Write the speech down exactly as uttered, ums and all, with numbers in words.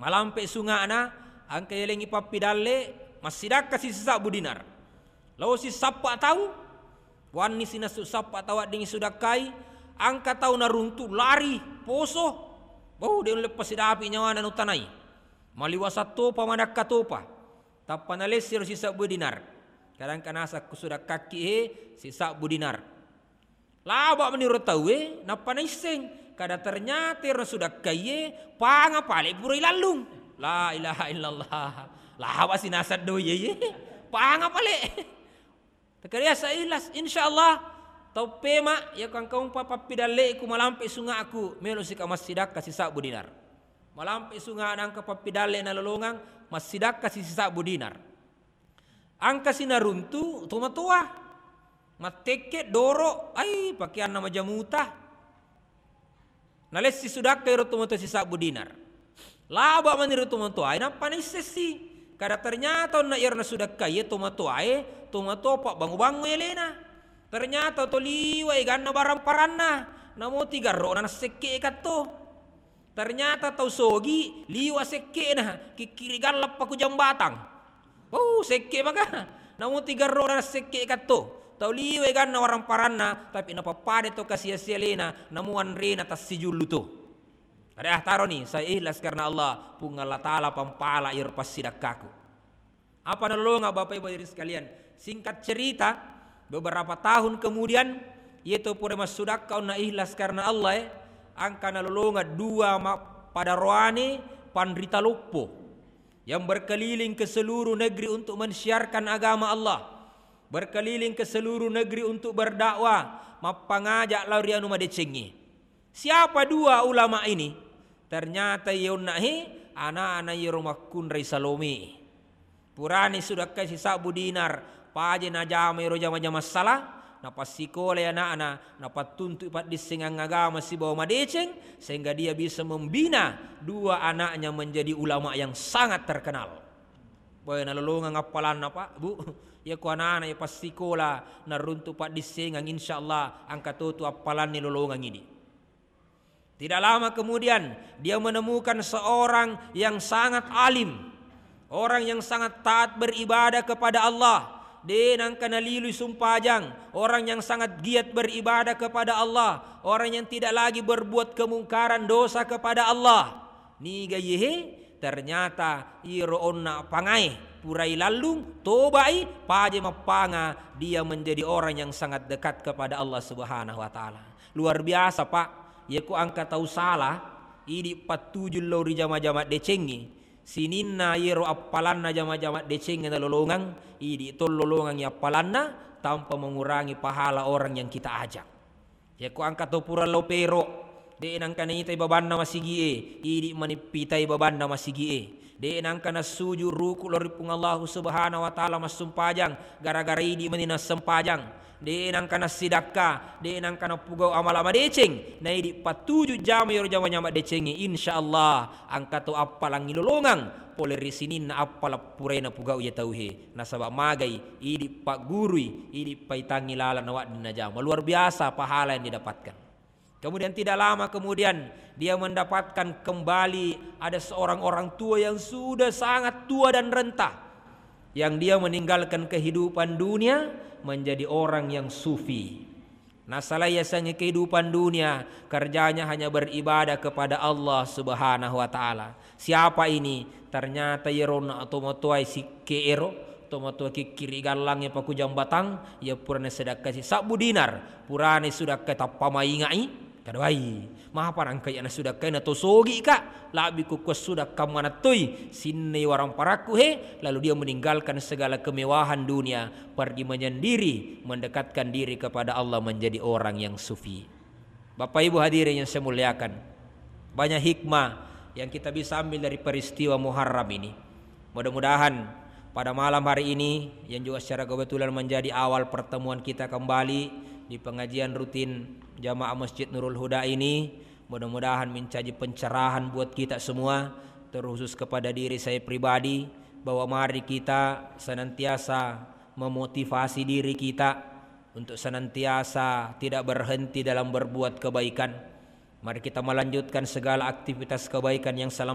Alampe sunga'na, angka yalengngi pappidalle, massidakka sisabbu dinar. Lao sisappa tau, wanni sinassu sappa tau wedding sudakkai, angka tau naruntu lari, poso. Bau, de' ulle pasidapi nyawana nutanai. Maliwasa topa, madakka topa. Tappa nalessiro sisabbu dinar. Kadangka nasakku sudakkakki he, sisabbu dinar. Laba' meniro tauwe, nappa naisseng. Kada ternyata ero sudakkaiye, panga pale' pura ilallung. La ilaha illallah. Laba' sinasang doi ye. Panga pale'. Takariasa ikhlas, insyaallah. Tau pema, ya kangkaumpa pappidalle'ku malampe sunga'ku, melo sika massidakka sisabbu dinar. Malampe sunga' nangka pappidalle nalolongang, massidakka sisabbu dinar. Angka sinaruntu tomatoa. Mattekke, doro, ai, pakeanna majamuta. Nalessi sudakka ero tomatoa sisabbu dinar. Laba' mani ro tomatoae, nappa naissessi. Kada ternyata onna ero nasudakkai tomatoae, tomatoa pabbango-bango elena. Ternyata to liwa eganna barang paranna, namo tigarro na nassekke katto. Ternyata tau sogi liwa sekke'na, kikkiri gallappa ku jambatang. Wau, sekke maka. Namo tigarro na sekke katto. Tau liwe ganna warang paranna, tapi napappada to kasia-sia lena, namo anrena tassijullu to. Ada taroni, saya ikhlas karena Allah, Puang Allah Ta'ala pampala iro passidakkaku. Apa nalolonga Bapak Ibu hadirin sekalian? Singkat cerita, beberapa tahun kemudian, yeto pura massudakka onna ikhlas karena Allah, eh, angka nalolonga dua ma-, padaroane panrita loppo yang berkeliling ke seluruh negeri untuk mensiarkan agama Allah, berkeliling ke seluruh negeri untuk berdakwah, mappangaja lao ri anu madecengnge. Siapa dua ulama ini? Ternyata iye onna he, ana-ana iyero makkunrai Salome. Purani sudakkai sisabbu dinar, paje najama ero jama-jama sala, napassikolai ana'na, napattuntu paddissengang agama sibawa madeceng, sehingga dia bisa membina dua anaknya menjadi ulama yang sangat terkenal. Boy, nalolongang appalanna, Pak, Bu. Iya ko anana iya passikola naruntu paddissengang, insyaallah angka totu appalanni lolongang idi. Tidak lama kemudian, dia menemukan seorang yang sangat alim, orang yang sangat taat beribadah kepada Allah, de nangka nalilui sumpajang, orang yang sangat giat beribadah kepada Allah, orang yang tidak lagi berbuat kemungkaran, dosa kepada Allah. Niga iyehe? Ternyata iyero onna pangae purai lallung, tobai, paje mappanga, dia menjadi orang yang sangat dekat kepada Allah Subhanahu wa Ta'ala. Luar biasa, Pak. Yako angka tau sala, idi pattuju lao ri jama-jama decengnge, sininna iyero appalanna jama-jama decengnge nalolongang, idi to lolongangngi appalanna tanpa mengurangi pahala orang yang kita ajak. Yako angka to pura lao pero, de nangka naitai babanna masigie, idi manippitai babanna masigie. De nangka nassuju ruku lao ri Puang Allahu Subhanahu wa Ta'ala massumpajang, gara-gara idi mani nassempajang. De nangka nassidakka, de nangka napugau amala madeceng, naidi pattuju jama iyero jama-jama decengnge, insyaallah angka to appalangngi lolongang pole ri sininna appala purae napugau iya tauhe. Nasaba magai, idi paggurui, idi paitangngi laleng nawedding najama. Luar biasa pahala yang didapatkan. Kemudian tidak lama kemudian, dia mendapatkan kembali ada seorang orang tua yang sudah sangat tua dan renta, yang dia meninggalkan kehidupan dunia menjadi orang yang sufi. Nasalai yasengnge kehidupan dunia, kerjanya hanya beribadah kepada Allah Subhanahu wa Ta'ala. Siapa ini? Ternyata iyero na tomatoae sikke'ero, tomatoa kikkiri gallangnge pakujang batang, iya purana sedakkai sisabbu dinar, purana sudakkai tappa maingai, kada wai. Mapa nangka iya nasudakkai na to sogi ka, labbi kukua sudakka manattoi, sinnai warang parakku he, lalu dia meninggalkan segala kemewahan dunia, pergi menyendiri, mendekatkan diri kepada Allah, menjadi orang yang sufi. Bapak Ibu hadirin yang saya muliakan, banyak hikmah yang kita bisa ambil dari peristiwa Muharram ini. Mudah-mudahan pada malam hari ini, yang juga secara kebetulan menjadi awal pertemuan kita kembali di pengajian rutin Jamaah Masjid Nurul Huda ini, mudah-mudahan menjadi pencerahan buat kita semua, terkhusus kepada diri saya pribadi, bahwa mari kita senantiasa memotivasi diri kita untuk senantiasa tidak berhenti dalam berbuat kebaikan. Mari kita melanjutkan segala aktivitas kebaikan yang selama